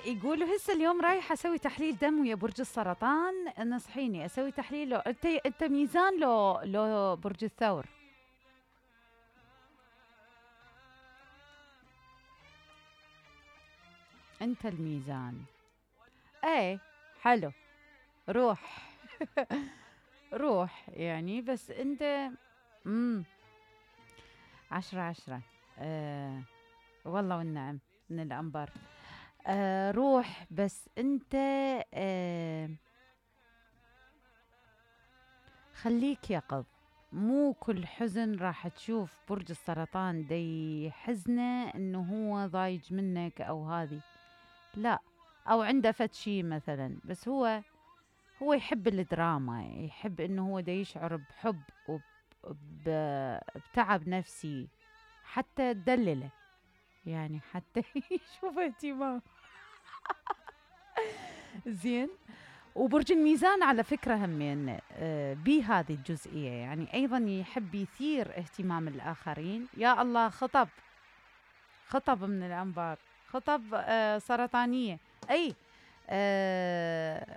يقولوا هسه اليوم رايحة أسوي تحليل دم ويا برج السرطان، نصحيني أسوي تحليل لو أنت ميزان لو برج الثور؟ أنت الميزان. ايه حلو، روح. روح يعني، بس أنت 10/10. والله والنعم من الأنبار. روح، بس أنت خليك يقظ. مو كل حزن راح تشوف برج السرطان دي حزنه انه هو ضايج منك او هذه، لا، او عنده فد شي مثلا، بس هو يحب الدراما، يحب انه هو دا يشعر بحب وبتعب نفسي، حتى تدلله يعني، حتى يشوف اهتمام. زين. وبرج الميزان على فكرة همين بهذه الجزئية، يعني أيضا يحب يثير اهتمام الآخرين. يا الله، خطب من الأنبار، خطب سرطانية. أي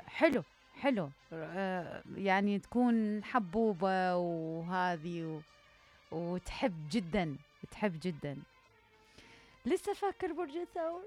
حلو حلو. يعني تكون حبوبة وهذه وتحب جدا، تحب جدا. لسه فاكر برج الثور؟